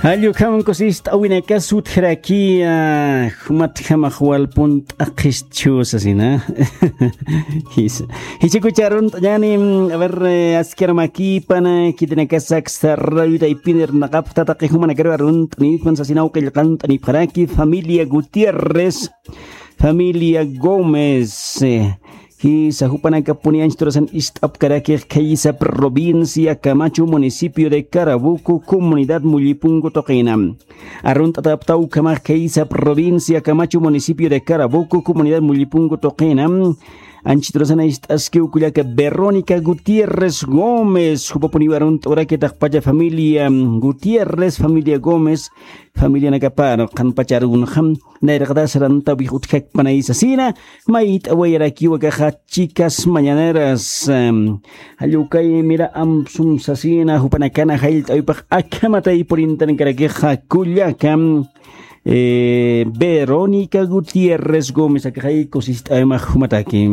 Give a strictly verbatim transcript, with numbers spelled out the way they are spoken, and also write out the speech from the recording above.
Jallukhaman kusist'awinakas utjaraki, ah, jumatjamax walpun t'aqhistchu sasina. Jisa. Jichakucharunt'añani, mm, a ver, eh, askar makipana, kitinakasaksa rayutaypinir naqapta taqi jumanakaru arunt'anipxan sasinaw qillqant'anipxaraki, familia Gutiérrez, familia Gómez, eh, Jisa, jupanakapuni anchiturasan ist'apkarakix khaysa provincia Camacho, municipio de Carabuco, comunidad Mullipungu tuqina. Arunt'ataptaw ukhamax khaysa provincia Camacho, municipio de Carabuco, comunidad Mullipungu tuqina. Anchiturasan ist'askiw kullaka Verónica Gutiérrez Gómez, jupapuniw arunt'arakitaqpacha familia Gutiérrez, familia Gómez, familianakapar qanpacharunxam. Nayraqatas rantawix utjakpanay sasina, mayt'awayarakiwa kaxa chicas mañaneras, em, jallukay mira amsum sasina, jupanakana jallt'awipaq akhamatay purintankarakixa kullaka, eh, Verónica Gutiérrez Gómez akaxay kusist'awimax jumataki.